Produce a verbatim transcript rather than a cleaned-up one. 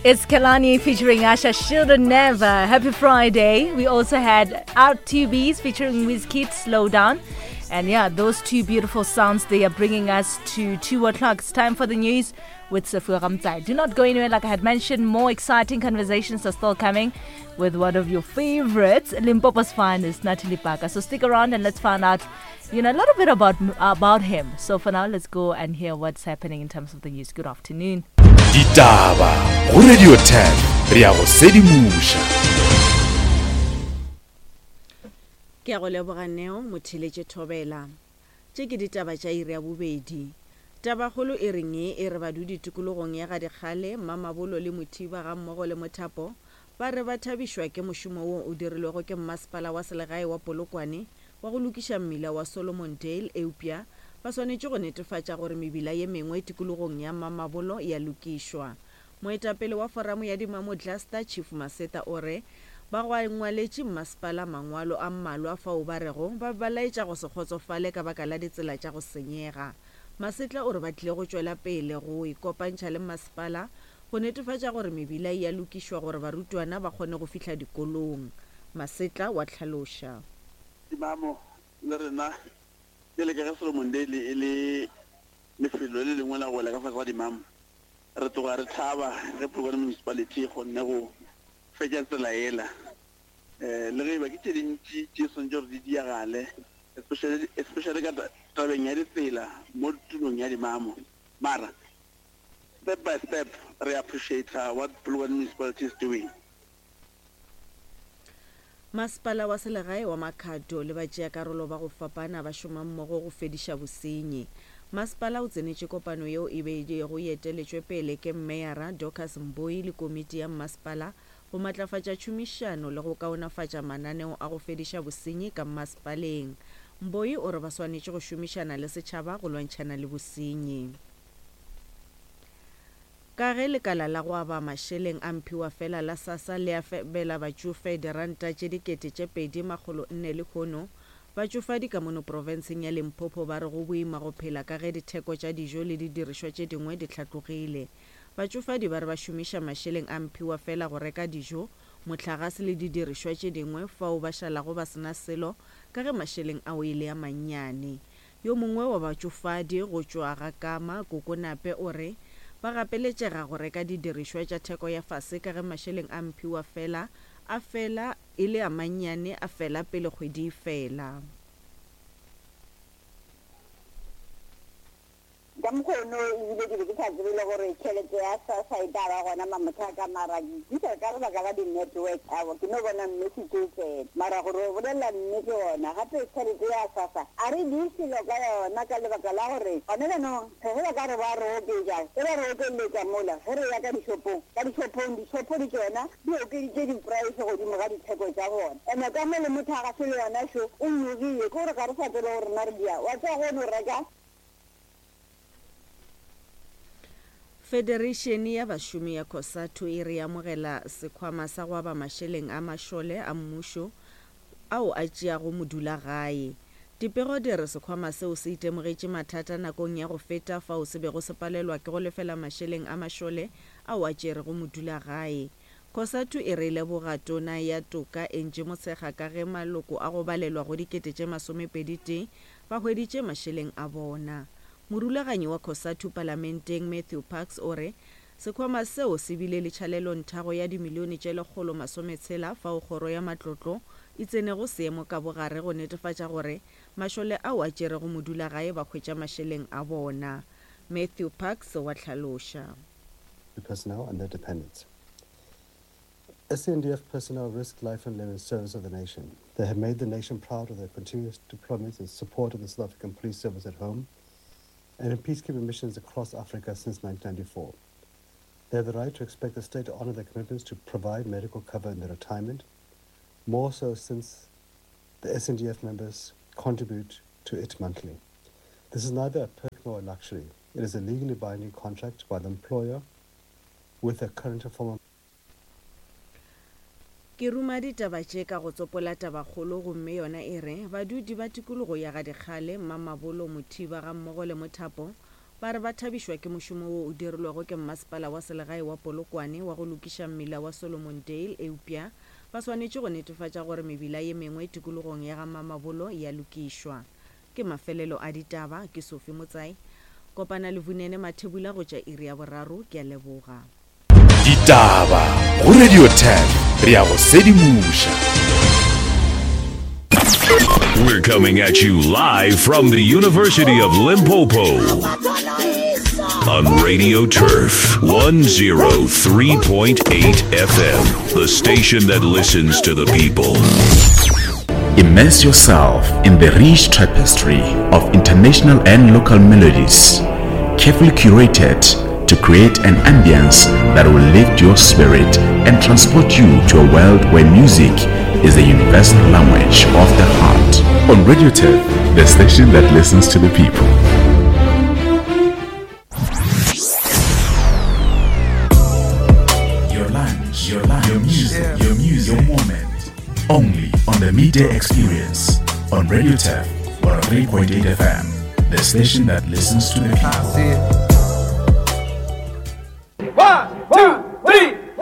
It's Kehlani featuring Usher, Shoulda Never. Happy Friday. We also had R T Bs featuring Wizkid, Slow Down. And yeah, those two beautiful sounds, they are bringing us to two o'clock. It's time for the news with Sefua Ramtsai. Do not go anywhere. Like I had mentioned, more exciting conversations are still coming with one of your favorites, Limpopo's finest, Natalie Parker. So stick around and let's find out, you know, a little bit about, about him. So for now, let's go and hear what's happening in terms of the news. Good afternoon. Ditaba go Radio ten re ya go sedimoša. Ke a go leboga Neo Motheletše Thobela. Tše ke ditaba tša iri ya bobedi. Tabakgolo e reng e re badudi tikologong ya Gadikgale, Mamabolo le Mothiba ga mmogo le Mothapo ba re ba thabišwa ke mošomo wo o dirilwego ke mmasepala wa selegae wa Polokwane wa go lokiša mmila wa Solomon Dale, eupša ba swanetše go netefatša gore mebila ye mengwe tikologong ya Mamabolo ya lokišwa. Moetapele wa foramo ya Dimamo Cluster Chief Maseta o re ba ngwaletše mmasepala mangwalo a mmalwa fao ba rego ba ba laetša go se kgotsofale ka baka la ditsela tša go senyega. Masetla o re ba tlile go tšwela pele go ikopantšha le mmasepala go netefatša gore mebila e a lokišwa gore barutwana ba kgone go fihla dikolong. Masetla wa tlhaloša. Dimamo le rena pele ka ge Solomon Dale e le lefelo le lengwe la go wela ka fase ga Dimamo, re tloga re thaba ge Polokwane Municipality e kgonne go fetša tsela ela. Um le ge e ba ke tše dintši tše swanetše gore di diagale, especially especially ka tabeng ya ditsela mo tulong ya Dimamo. Mara step by step re appreciate what Polokwane Municipality is doing. Masepala wa selegae wa Makhado le batšeakarolo ba go fapana ba šoma mmogo go fediša bosenyi. Masepala o tsenetše kopano yeo e beilego e eteletšwe pele ke Meyara Dorcas Mboi le komiti ya mmasepala go matlafatša tšhomišano le go kaonafatša mananeo a go fediša bosenyi ka mmasepaleng. Mboi o re ba swanetše go šomišana le setšhaba go lwantšhana le bosenyi. Ka ge lekala la go aba mašeleng a mphiwa fela la SASSA le abela batšofe diranta tše dikete tše pedi makgolo nne lehono, batšofadi ka mono profenseng ya Limpopo ba re go boima go phela ka ge ditheko tša dijo le didirišwa tše dingwe di hlatlogile. Batšofadi ba re ba šomiša mašeleng a mphiwa fela go reka dijo, mohlagase le didirišwa tše dingwe fao ba šalago ba sena selo ka ge mašeleng ao e le a mannyane. Yo mongwe wa batšofadi go tšwa ga Kama, Kokonape, o re ba gapeletšega go reka didirišwa tša theko ya fase ka ge mašeleng a mphiwa fela a fela e le a mannyane a fela pele kgwedi e fela. Ka mokgono ebile ke be ke sa tsebe le gore tšhelete ya SASSA e tla ba gona mamothaka, mara ke bitša ka lebaka la di-network ao ke no bona message o tsena. Mara gore o bolela nnete gona gape tšhelete ya SASSA a re di selo ka yona ka lebaka la gore gone jaanong ge ba ka re ba re oketša, ge ba re okeletša mola ge re ya ka dishopong, ka dishopong dishopo di tšona di okeditše di-price godimo ga ditheko tša bona. Ene ka mo le mothagaso le yona šo o nyogile, ke gore ga re sa tsebe gore rena re dia wa tseba go no reka. Federation ya bašomi ya COSATU e re amogela sekhwama sa go aba mašeleng a mašole a mmušo ao a tšeago modulagae. Dipego di re sekhwama seo se itemogetše mathata nakong ya go feta fao se bego se palelwa ke go lefela mašeleng a mašole ao a tšerego modulagae. COSATU e re leboga tona ya toka Angie Motshekga ka ge maloko a go balelwa go dikete tše masomepedi tee ba hweditše mašeleng a bona. Morulaganyi wa COSATU palamenteng Matthew Parks o re sekhwama seo se bile le tšhalelonthago ya dimilione tše lekgolo masometshela fao kgoro ya matlotlo e tsenego seemo ka bogare go netefatša gore mašole ao a tšerego modulagae ba hwetša mašeleng a bona. Matthew Parks wa tlhaloša. Personnel and their dependents. S A N D F personnel risk life and limb in service of the nation. They have made the nation proud of their continuous deployments in support of the South African Police Service at home and in peacekeeping missions across Africa since nineteen ninety-four. They have the right to expect the state to honor their commitments to provide medical cover in their retirement, more so since the S N D F members contribute to it monthly. This is neither a perk nor a luxury. It is a legally binding contract by the employer with their current or former. Ke ruma ditaba tše ka go tsopola tabakgolo gomme yona e re badudi ba tikologo ya Gadikgale, Mamabolo, Mothiba ga mmogo le Mothapo Ba re ba thabišwa ke mošomo wo o dirilwego ke Mmasepala wa Selegae wa Polokwane wa go lokiša mmila wa Solomondale eupša ba swanetše go netefatša gore mebila ye mengwe tikologong ya ga Mamabolo e a lokišwa. Ke mafelelo a ditaba, ke Sophie Motsai. Kopana le Vunene Mathebula go tša iri ya boraro, ke a leboga. Ditaba go Radio Turf, re a go sedimoša. We're coming at you live from the University of Limpopo on Radio Turf one oh three point eight F M, the station that listens to the people. Immerse yourself in the rich tapestry of international and local melodies, carefully curated to create an ambience that will lift your spirit and transport you to a world where music is the universal language of the heart. On Radio Turf, the station that listens to the people. Your lunch, your lunch, your music, yeah. Your music, your moment. Only on the Midday Experience on Radio Turf one oh three point eight F M, the station that listens to the people. One, two,